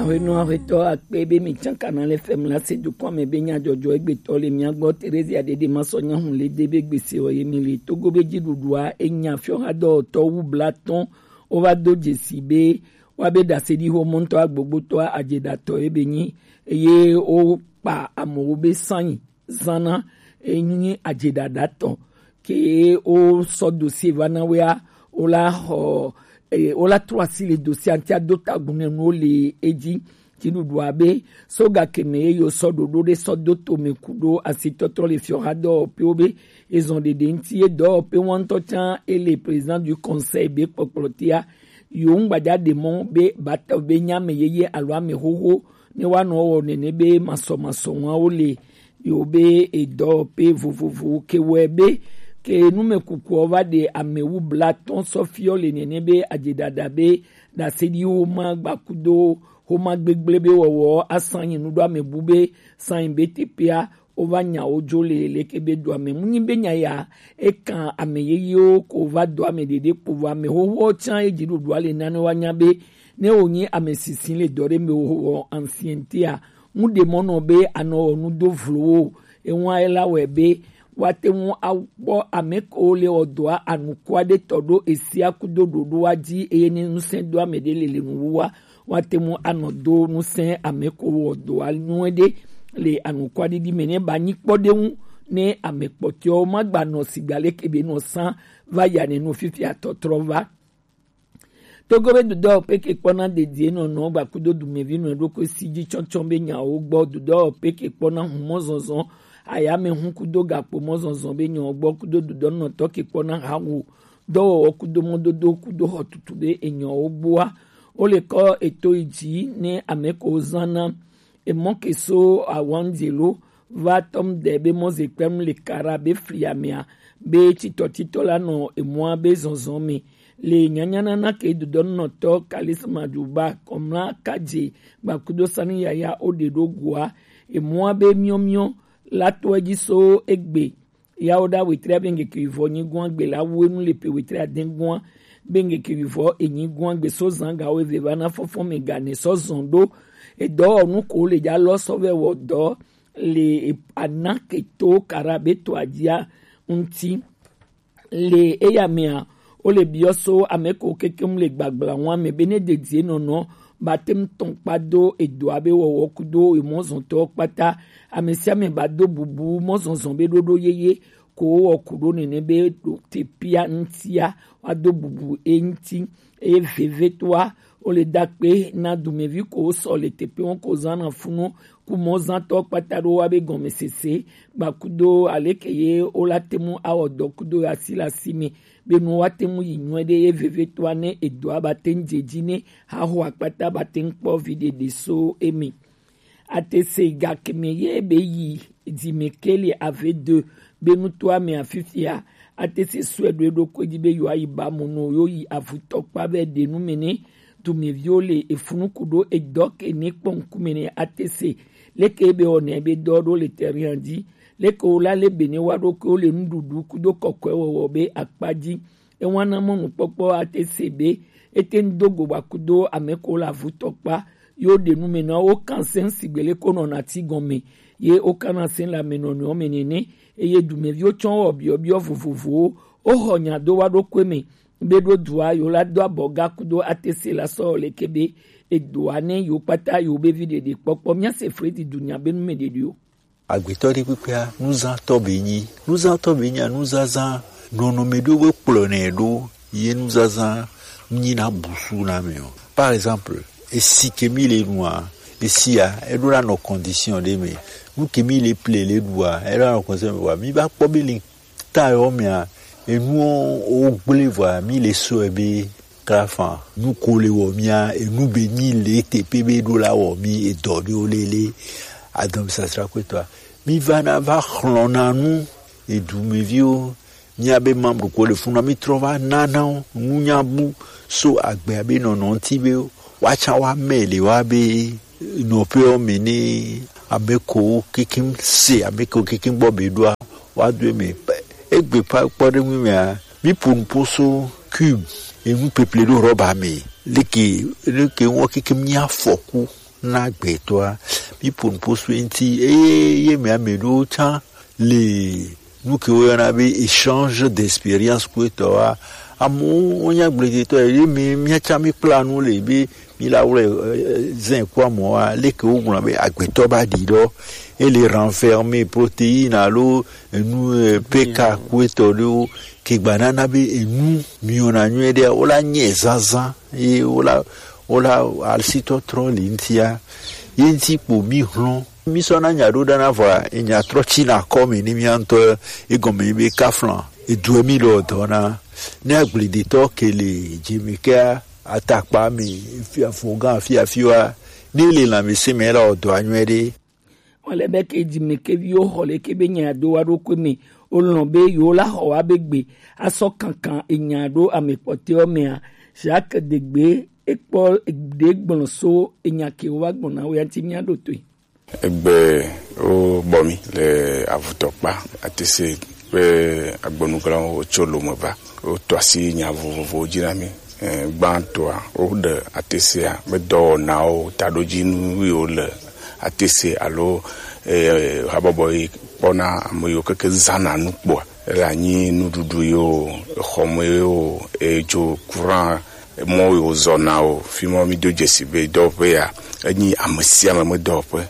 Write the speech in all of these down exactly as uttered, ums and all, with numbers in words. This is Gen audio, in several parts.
Ahwenɔ ahwetɔ akpe be mi can Kanal F M la se dukɔ me be nyadzɔdzɔ egbetɔ le mia gbɔ. Teresia Dede ma sɔ nya hun le de be gbese o ye mi le Togo be dziɖuɖua enya fiɔ ha dɔwɔtɔ wu blatɔn. Wo va do dzesi be wa be ɖase ɖi ho mɔntɔ agbogbotɔ ajeɖatɔ ye be nyi eye wo kpa amewo be sanyi zana enyi ajeɖaɖa tɔ ke wo sɔ dosie va na wea wo la xɔ eye wo la trɔ asi le dosie ŋuti ado tagun ne nuwo le edzi. Dziɖuɖua be soga keme ye yo sɔ ɖoɖo ɖe sɔ do tome ku ɖo asitɔtrɔ le fiɔha dɔwɔƒewo be ezɔn ɖeɖe ŋuti ye dɔwɔƒe wɔntɔ tsã ele président du conseil be kpɔkplɔ tia yo ŋgbadza ɖe mɔ be batɔ be nya ame yeye alo ame xoxo ne woanɔ wɔ nene be masɔmasɔ wawo le yewo be edɔwɔƒe vovovowo ke wɔe be ke numekukuɔ va ɖe amewu blatɔ̃ sɔfiɔ le nene be ajeɖaɖa be ɖaseɖiwo ma gbakudo xoma gbegblẽ be wɔwɔ asan nyi nuɖo amebu be san nyi be teƒea wova nyawo dzo le leke be doa me. Munyi be nya ya ekan ame yeyewo ko va doa me ɖeɖe kpo vɔ ame xoxoawo tsã ye dziɖuɖua le nane woanya be ne wònyi ame sisi le dɔ ɖe me wòwɔ ancienneté a, ŋu ɖe mɔ nɔ be anɔ wɔ nu do vlowo o. Ewa ela wɔe be woate ŋu akpɔ ame kewo le wɔ dɔa anuku aɖe tɔ ɖo esia kudo ɖoɖoa dzi eye ne ŋusẽ do ame ɖe le le nuwuwa woate ŋu anɔ do ŋusẽ ame kewo wɔ dɔa nyuie ɖe le anukua ɖiɖi me ne ba nyi kpɔɖeŋu ne ame kpɔtɔewo magba nɔ sigba leke be nɔ sã va ya ne nu fifia tɔtrɔ va. Togo be dudɔ peke kpɔna dedie nɔnɔ gbakudo dumevi nɔ ɖokui si dzi tsɔtsɔ be nyawo gbɔ dudɔ peke kpɔna humɔ zɔzɔ ayame hu kudo gakpo mɔ zɔzɔ be nyawo gbɔ kudo dudɔ nɔtɔ ke kpɔna hawo dɔwɔwɔ kudo mɔdodo kudo xɔtutu be enyawo gboa. Wo le kɔ eto yi dzi ne ame ko zana emɔ ke so awanzelo va tɔm de be mɔzekpɛm le kara be fliamea be titɔtitɔ la nɔ emɔa be zɔzɔ me le nyanyanana ke dodɔnɔtɔ kalisma juba kɔmla kadze gbakudo sani yaya o de ɖo goa emɔa be miɔmiɔ la to edzi so egbe yawo ɖa wetri abe ŋkeke wivɔ nyigoa gbe la wu enu le pe wetri adɛgoa be ŋkeke wivɔ enyigoa gbe so zan gawo eve va na fɔfɔ me gane sɔ zɔn ɖo edɔwɔnu ko le dza lɔ sɔ vɛ wɔ dɔ le ana keto kara be to adzia ŋuti. Le eya mea wo le biɔ so ame ko kekem le gbagbla ŋua me be ne dedie nɔnɔ ba tem tɔn kpa do edoa be wɔwɔ kudo emɔzɔntɔ kpata ame sia ame ba do bubu mɔzɔzɔ be ɖoɖo yeye ko wɔ ku ɖo nene be ɖo tepia ŋutia wa do bubu e ŋuti. Eye vevetoa wo le da kpe na dumevi ko wo sɔ le teƒe ŋu ko zã na funu ku mɔzãtɔ kpata ɖo wa be gɔmesese gbakudo aleke ye wo la te ŋu awɔ dɔ kudo asi le asi me be nu wa te ŋu yi nyuie ɖe ye vevetoa ne edoa ba te ŋu dze dzi ne haxo akpata ba te ŋu kpɔ vi ɖeɖe so eme. Atese gakeme ye be yi dzimekeli ave de be nutoa me afifia atese sue ɖo eɖokui dzi be yewoayi ba mo no yewo yi avutɔkpa be ɖe nu me ne dumeviwo le efunu ku ɖo edɔ ke ne kpɔ ŋkume ne atese leke be wɔnɛ be dɔ ɖo le terrain dzi leke wo la le be ne wa ɖokuiwo le nuɖuɖu kudo kɔkɔe wɔwɔ be akpa dzi. Ewana mɔnukpɔkpɔ ate se be ete ŋu do go gbakudo ame ko le avutɔkpa yo ɖe nu me na wo kan se ŋu sigbe le ko nɔna ti gɔme ye wo kana se le ame nɔnɔewo me nene. Eye dumeviwo tsɔ wɔ biɔbiɔ vovovowo wo xɔ nya do wa ɖokui me be ɖo dua yo la do abɔ ga kudo ate se la sɔ leke be edoa ne yo kpata yo be vi ɖeɖe kpɔkpɔ mia se fredi dunya be nu me ɖeɖe o. Agbetɔ ɖe kpekpea nuzãtɔ be nyi nuzãtɔ be nya nuzazã nɔnɔme ɖo be kplɔ nɛ ɖo ye nuzazã nyi na busu na me o. Par exemple esi ke mi le nua esia eɖo la nɔ condition ɖe me nu ke mi le ple le ɖua eɖo la nɔ condition me wa mi va kpɔ be le ta yɔ mea enuwo wo gblẽ vɔa mi le sɔe be krafa nu ko le wɔ mia enu be mi le teƒe be ɖo la wɔ mi edɔ ɖewo lele adɔm sasra kpetɔa mi va na va xlɔ̃na nu edumeviwo mia be mam ɖoko le funa mi trɔ va nana wo nunya bu so agbea be nɔnɔ ŋuti be woatsã woame le wa be nɔƒewo me ne ame kewo kekem se ame kewo kekem gbɔ be ɖoa woado eme. Egbe kpɔɖeŋu mea, míƒo nu ƒo so cube enu ƒeƒle ɖo rɔba me. Leke leke ŋua kekem nye afɔku na gbɛtɔa. Mi po nupo so eŋti eye ye mia mɛ ɖo tsa le nu ke woyɔna be échange d'expérience kpɔtɔ wa. Amewo wonya gbledetɔ ye mi miatsa mi kpla nu le be mi la wlɛ zɛn kpɔ amɔ wa leke wogblɔ be agbetɔ ba ɖi ɖɔ ele renfermer protéine alo enu pk kpɔtɔ ɖewo ke gba nana be enu miɔna nyuie ɖe wola nyɛ zazã ye wola wola alisitɔtrɔ le ŋtia ye ŋti kpo mi hlɔn. Mi sɔna nya ɖo ɖana vɔa enya trɔ tsina kɔ me ni mia ŋutɔ egɔme be kaflan edue mi le ɔdɔ na ne agbledetɔ ke le dzime kea atakpa me afɔgã afi afi wa ne le lãmesẽ me la ɔdɔ anyuɛ ɖe. Wale be ke dzime ke viwo xɔ le ke be nya do wa ɖo kue me o lɔn be yo la xɔ wa be gbe asɔ kankan enya ɖo ame kpɔtɛwo mea. Jacques Degbe ekpɔ ɖe gblɔ so enya ke wo va gbɔna wo ya ŋti mia ɖo toe. Egbe wo bɔ mi le avutɔkpa atese kpe agbonuglawo wotso lome va. Woto asi nya vovovowo dzi na mi. Eh, gbãtɔa, woɖe atesea be dɔwɔnawo taɖodzinu yiwo le atese alo eh, habɔbɔ yi kpɔna ame yiwo keke zãna nu kpɔa ele anyi nuɖuɖu yiwo exɔme yiwo edzo kuran mɔ yiwo zɔna o fi mɔ mi do dzesi be dɔwɔƒe ya enyi ame sia ame me dɔwɔƒe.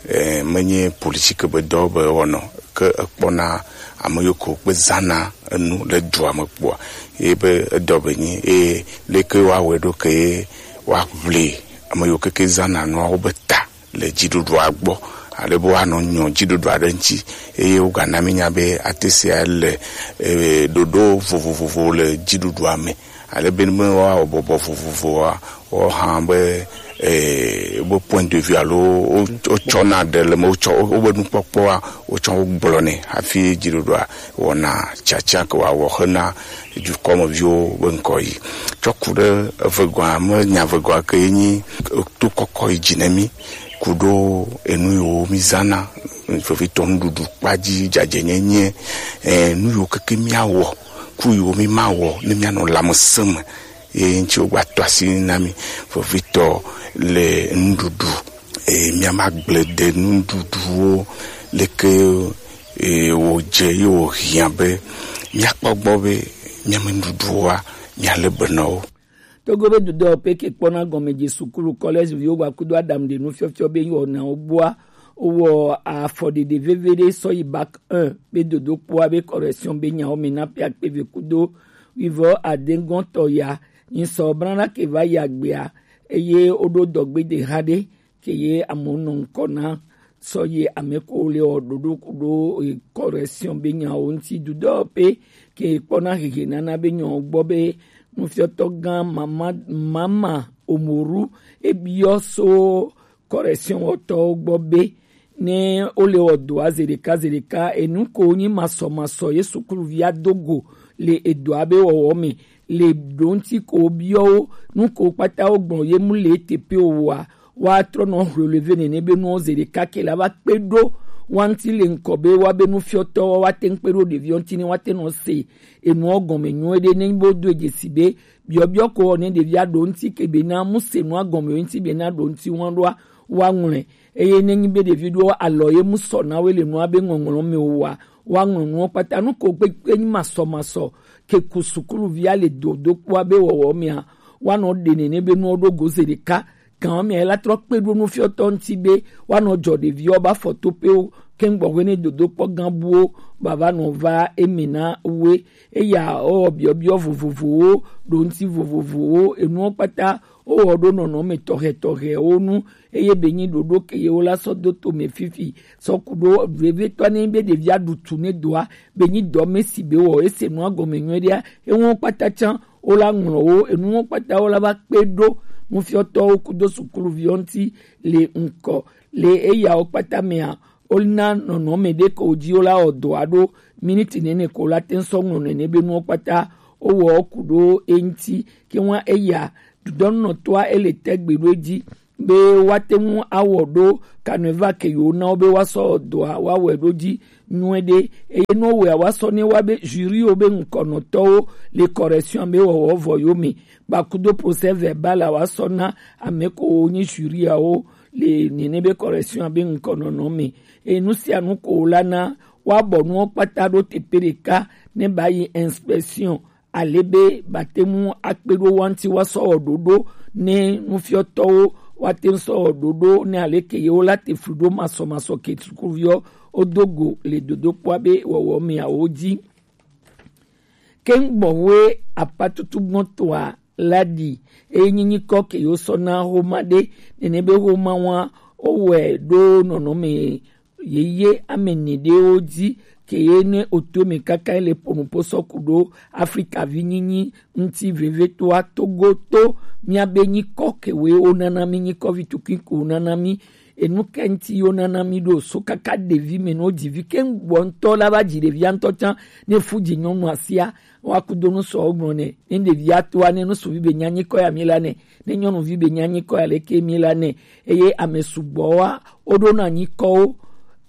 Eh, menye politique be dɔ be wɔnɔ ke ekpɔna ame yiwo ko kpe zãna enu le dua me kpɔa ye be edɔ be nyi eye leke woawɔe ɖo ke ye woaʋli ame yiwo keke zãna nuawo be ta le dziɖuɖua gbɔ ale be woanɔ nyɔ dziɖuɖu aɖe ŋuti eye wogana mi nya be ate sia le eh, ɖoɖo vovovovo le dziɖuɖua me. Ale be ne woawɔ bɔbɔ vovovoa, woawo hã be eh, wobe point de vue alo wo- wotsɔna ɖe le me wotsɔ wobe nukpɔkpɔa wotsɔ wogblɔnɛ hafi dziɖuɖua wɔna tiatia ke wòawɔ hena dukɔmeviwo be ŋkɔ yi. Tsɔ ku ɖe evegɔa me nya evegɔa ke ye nyi to kɔkɔ yi dzi ne mí ku ɖo enu yiwo mí zãna vevitɔ nuɖuɖu kpa dzi dzadzɛnyenye eh, nu yiwo keke míawɔ ku yiwo mí mawɔ ne míanɔ lãmesẽ me ye ŋuti wogba to asi na mí vevitɔ le nuɖuɖu eye míama gble de nuɖuɖuwo leke eye wòdze ye wòhiã be míakpɔ gbɔ be míame nuɖuɖuwoa míalé be na wo. Togo be dudɔ pe ke kpɔna gɔme dze sukulu kɔlɛzi viwo gba kudo adam de nufiɔfiɔ be wɔnawo gbɔa wowɔ afɔɖeɖe veve ɖe sɔ yi bak un be dodokpoa be correction be nyawo me na pe akpeve kudo wivɔ adegɔntɔ ya nyi sɔ brana ke va yi agbea eye woɖo dɔgbe de ha ɖe ke ye amewo nɔ ŋkɔ na sɔ ye ame ko le wɔ ɖoɖo kuɖo correction be nyawo ŋuti dudɔ pe ke kpɔna hehe nana be nyawo gbɔ be nufiɔtɔ gã mama mama omoru ebiɔ so correction wɔtɔwo gbɔ be ne wole wɔ dɔa zeɖeka zeɖeka enu ko nyi masɔmasɔ ye sukuluvia do go le edɔa be wɔwɔ me le ɖo ŋuti ko biɔ wo nu ko kpata wo gblɔ ye mu le ete pe o wa woatrɔ nɔ relevé nene be nuwo zeɖeka ke la va kpe ɖo wa ŋuti le ŋkɔ be wa be nufiɔtɔ wa wa te ŋu kpe ɖo ɖeviwo ŋuti ne wa te nɔ se enuwo gɔme nyuie ɖe ne bo do dzesi be biɔbiɔ ko wɔ ne ɖevia ɖo ŋuti ke be na mu se nua gɔme ŋuti be na ɖo ŋuti wa ɖoa wa ŋlɔe eye ne nyi be ɖevi ɖo alɔ ye mu sɔ na wo le nua be ŋɔŋlɔ me o wa wa ŋlɔ nuwo kpata nu ko gbegbe nyi masɔmasɔ ke ku sukuluvia le dodokpoa be wɔwɔ mea woanɔ ɖe nene be nuwo ɖo go zeɖeka gãwo mea ela trɔ kpe ɖo nufiɔtɔ ŋuti be woanɔ dzɔ ɖeviwo ba fɔtoƒewo keŋ gbɔxwe ne dodokpɔ gã buwo bava nɔ va eme na woe eya ewɔ biɔbiɔ vovovowo ɖo ŋuti vovovowo enuwo kpata wowɔ ɖo nɔnɔme tɔxɛtɔxɛwo nu eye be nyi ɖoɖo ke ye wola sɔ do to me fifi sɔ ku ɖo vevietɔ ne be ɖevia ɖu tu ne doa be nyi dɔ me si be wɔ ese nua gɔme nyuie ɖea enuwo kpata tsã wola ŋlɔ wo enuwo kpata wola va kpe ɖo nufiɔtɔwo kudo sukuluviwo ŋuti le ŋkɔ le eyawo kpata mea wona nɔnɔme ɖe ko dzi wola wɔ dɔa ɖo miniti nene ko la te ŋu sɔ ŋlɔ nene be nuwo kpata wowɔ ku ɖo eŋuti ke ŋua eya dudɔnunɔtɔa ele te gbe ɖo edzi be woate ŋu awɔ ɖo kaneva ke yewo na wo be woasɔ dɔa woawɔe ɖo dzi nyuie ɖe eye ne wowɔea woasɔ ne wa be juriwo be ŋkɔnɔtɔwo le correction be wɔwɔ vɔ yewo me gbakudo procès verbal a woasɔ na ame ko wonyi juriawo le nene be correction abe ŋkɔ nɔnɔ me. Enu sia nu ko la na wa bɔ nuwo kpata ɖo teƒe ɖeka ne ba yi inspection. Ale be ba te ŋu akpe ɖo wa ŋuti wa sɔ wɔ ɖoɖo ne nufiɔtɔwo wa te ŋu sɔ wɔ ɖoɖo ne ale ke yewo la te flu ɖo masɔmasɔ ke sukuviwo wo do go le dodokpɔa be wɔwɔ meawo dzi. Keŋ gbɔnwe apatutu gbɔntɔa la ɖi eye nyinyikɔ ke yewo sɔ na xoma ɖe nene be xoma wa wowɔe ɖo nɔnɔme yeye ame ene ɖewo dzi ke ye ne oto me kaka le ponupo sɔ ku ɖo Afrika vi nyinyi ŋuti vevetoa Togo to miabe nyikɔ ke we wo nana mi nyikɔ vi tukui ko wo nana mi enu ke ŋuti yo nana mi ɖo so kaka ɖevi me no dzi vi ke ŋgbɔ ŋutɔ la va dzi ɖevia ŋutɔ tsã ne fu dzi nyɔnu asia wa ku do nu sɔ gblɔ ne ne ɖevia toa ne nu suvi be nya nyikɔ ya mi la ne ne nyɔnuvi be nya nyikɔ ya leke mi la ne eye ame sugbɔ wa wo ɖo na nyikɔwo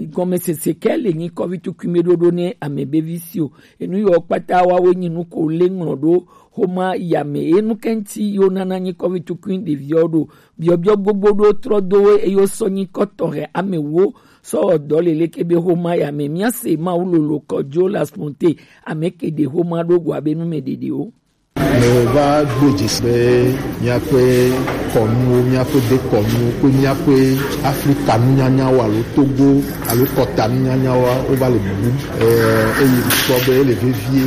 gɔmesese ke le nyikɔ vi tukui me ɖoɖo ne ame be vi si o enu yɔ kpata wa we nyi nu ko le ŋlɔ ɖo xoma ya me enu ke ŋuti yo nana nyikɔ vi tukui ɖeviawo ɖo biɔbiɔ gbogbo ɖo trɔ do wo eye wo sɔ nyikɔ tɔxɛ ame wo sɔ wɔ dɔ le leke be xoma ya me miase mawu lolo kɔdzo la sponte ame ke ɖe xoma ɖo go abe nu me ɖeɖewo. Meva do dzesi be míaƒe kɔnuwo, míaƒe dekɔnuwo kple míaƒe Afrika nunyanyawo alo Togo alo kɔta nunyanyawoa wova le bubum. Ɛɛ, eye mikpɔ be ele vevie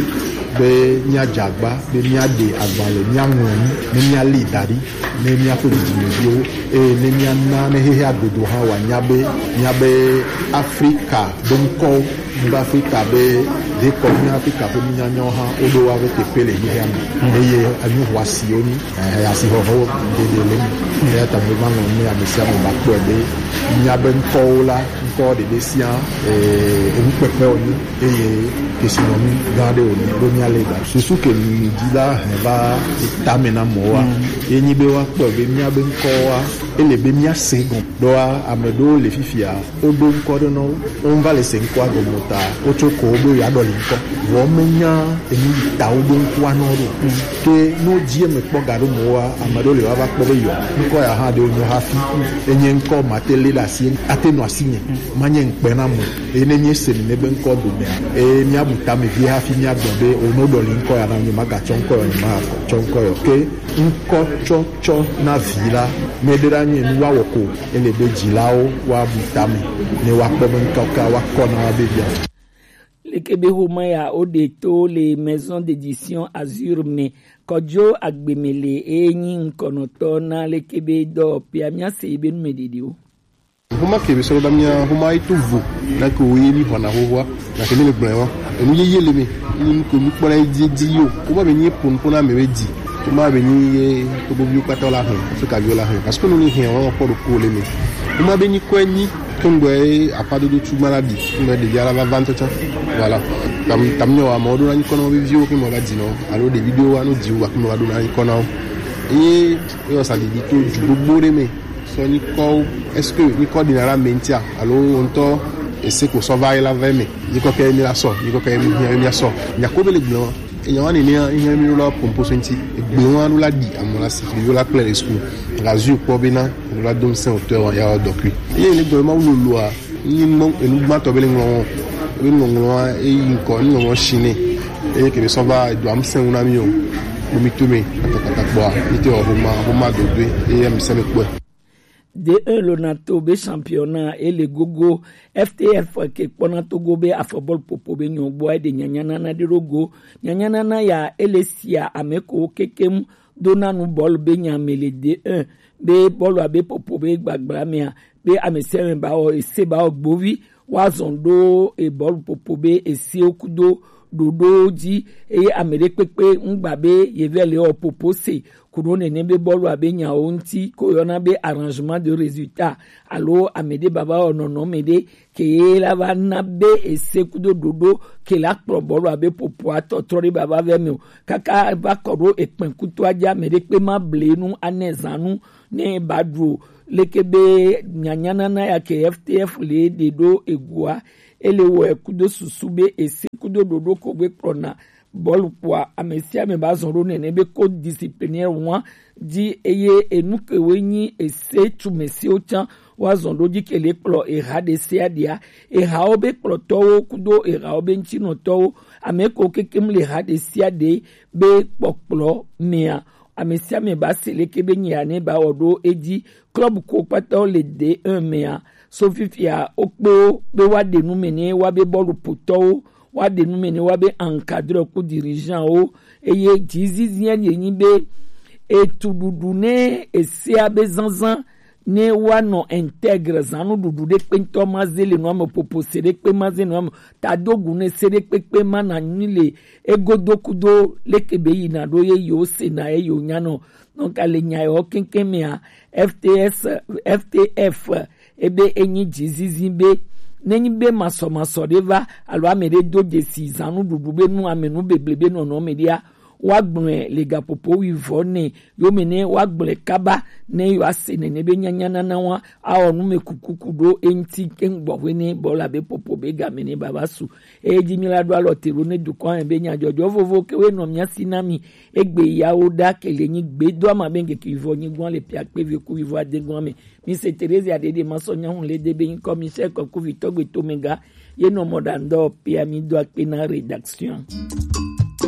be míadze agba be míaɖe agbalẽ, míaŋlɔ nu, ne míalée da ɖi ne míaƒe dzidzimeviwo, eye ne míana ne xexea godo hã wòanya be míabe Afrika be ŋkɔwo, míabe Afrika be dekɔnu, Afrika ƒe nunyanyawo hã woɖo woaƒe teƒe le xexea me, eye enu xɔasiwo nyi, eh, asixɔxɔ ɖeɖe le eme. Eya ta meva ŋlɔm ne ame sia ame nakpɔe be míabe ŋkɔwo la, ŋkɔ ɖeɖe sia, eh, enukpekpe wònye. Eye kesinɔnu gã aɖe wònye ɖo míalé ga. Susu ke mi dzi la hɛn va tame na mɔwoa, ye nyi be woakpɔe be míabe ŋkɔwoa, ele be míase gɔ̃. Ɖoa ame ɖewo le fifia, woɖo ŋkɔ ɖe nɔ wo, wova le se ŋkɔa gɔme o ta, wotso ko wo be yewoaɖɔli ŋkɔ. Vɔ menya enu yi ta woɖo ŋkɔa nɔ ɖo. Ke ne wodzi eme kpɔ ga ɖo mɔwoa, ame ɖewo le woava kpɔ be yɔ ŋkɔ ya hã ɖe wonyo hafi. Enye ŋkɔ mate lé ɖe asi, ate nɔ asinye, manye ŋukpe na mo. Eye ne míese nene be ŋkɔ domea, eye míabu tame vie hafi míagblɔ be, "O, ne woɖɔli ŋkɔ ya na nye, magatsɔ ŋkɔ ya, nyemagatsɔ ŋkɔ ya o." Ke ŋkɔ tsɔtsɔ na vi la, meɖe ɖa nye nu woawɔ ko, ele be dzilawo woabu tame, ne woakpɔ be ŋkɔ ka woakɔ na woabe via. Leke be xoma ya woɖe to le Maison d'édition Azur me, Kɔdzo Agbemele eye nyi ŋkɔnɔtɔ na leke be dɔwɔƒea, míase yi be nu me ɖiɖiwo. Xoma ke be sɔ ɖo ɖa mía xoma yi to vo na ke wo ye mi xɔna xoxoa na ke mi le gblɔe wa. Enu yeye le mi ni ko mi kpɔ na yi dzi dzi yo. Xoma be nyi pon pon na me be dzi. Xoma be nyi ye to bo bi kpata la hɛn, Afrika bi la hɛn. Parce que nu ni hɛn wa kpɔ ɖo ko le mi. Xoma be nyi kɔe nyi to ŋgbɛ apa dodo tu ma la bi. Ŋgbɛ de ya la va va ntɔtɔ. Voilà. Tam tam nyo wa mo do na nyi kɔnɔ bi vi o ke mo va dzi no. Alo de video wa no dzi wa ke mo va do na nyi kɔnɔ. E e o sa di di to ju gbogbo ɖe me. Sɔ nyikɔwo, est-ce que nyikɔ ɖina la me ŋutia alo wo ŋutɔ ese ko sɔ va yi la va eme? Nyikɔ ke mi la sɔ, nyikɔ ke mi hiã mi sɔ. Nyako be le gblɔ, enya wani ne hiã mi la pompo so ŋuti. Gblɔ wa la di amo la si yo la kple le sku. La zu kpɔ be na la dom sen otɔ wa ya dɔkui. Ye le gblɔ ma wulu lua, ni mo enu gbatɔ be le ŋlɔ wo. Be ŋlɔ ŋlɔ wa e yi ŋkɔ, ni ŋlɔ ŋlɔ shine. Eye ke be sɔ va do am sen na mi o. Bo mi to me, kata kpɔ, mi te o homa, homa do do, eye mi se me kpɔ. D un Lonato be championnat ele gogo. F T F ke kpɔna Togo be afɔbɔl popo be nyɔgbɔ ede nyanyanana de rogo. Nyanyanana ya ele sia ameko kekem dona nu bɔl be nyame le D un be bɔl abe popo be gbagbla mea be ame sia ame ba wɔ ese ba wɔ gbovi wa zɔn ɖo e bɔl popo be esewo kudo ɖoɖowo dzi eye ame ɖe kpekpe ŋgba be yevɛ le wɔ popo se ku ɖo nene be bɔlu abe nyawo ŋuti ko yɔna be arrangement de résultat alo ame ɖe baba wɔ nɔnɔme ɖe ke ye la va na be ese kudo ɖoɖo ke la kplɔ bɔlu abe popoa tɔtrɔ ɖe baba vɛ me o kaka va kɔ ɖo ekpɛn kutoa dzi ame ɖe kpe ma ble nu anɛ zanu ne ba ɖu o leke be nyanyanana ya ke F T F le ɖe ɖo egua ele wɔe kudo susu be ese kudo ɖoɖo ko gbe kplɔna bɔlu kpoa, ame sia ame ba zɔn ɖo nɛnɛ be ko disciplinaire wan ji, eye enu ke woe nyi ese tumesiwo tsã woazɔn ɖo ji ke le kplɔ eha ɖe sia ɖea, ehawo be kplɔtɔwo kudo ehawo be ŋutinɔtɔwo, ame ko kekem le ha ɖe sia ɖe be kpɔkplɔ mea, ame sia ame ba se leke be nya ne ba wɔ ɖo edzi. Club ko kpata wo le D un mea, so fifia wo kpe wo be woaɖe nu me ne woabe bɔluƒotɔwo, woaɖe nu me ne woabe encadreur ku dirigeant wo, eye dzizizia ye nyi be etuɖuɖu ne esea be zazã ne woanɔ intègre zãnuɖuɖu ɖe kpe ŋutɔ ma ze le nua me, popo se ɖe kpe ma ze nua me, tadogu ne se ɖe kpekpe ma na nyi le egodo kudo leke be yina ɖo ye yewo sena ye yewo nyanɔ. Donc, le nya yewo keŋkeŋ mea, F T S, F T F, ebe enyi dzizizi be, nenyi be masɔmasɔ ɖe va, alo ame ɖe do dzesi zãnuɖuɖu be nu, ame nu beble be nɔnɔ me ɖia, woagblɔe le gaƒoƒo wuivɔ ne yome ne woagblɔe kaba ne yewoase nene be nyanyanana wa awɔ nu me kukuku ɖo eŋuti keŋ gbɔxwe ne bɔ la be popo be game ne baba su. Eye dzi mi la ɖo alɔ te ɖo ne dukɔa me be nyadzɔdzɔ vovo ke woe nɔ mia si na mi. Egbe yawo ɖa ke le nyi gbe do ama be ŋkeke vɔ nyi gɔn le pia kpe ve ku vɔ ade gɔn me. Mi se Teresa ɖeɖe ma sɔ nyahu le de be ŋkɔ mi se kɔ ku vitɔ gbe to me ga. Ye nɔ mɔ ɖa ŋdɔ pia mi do akpe na rédaction.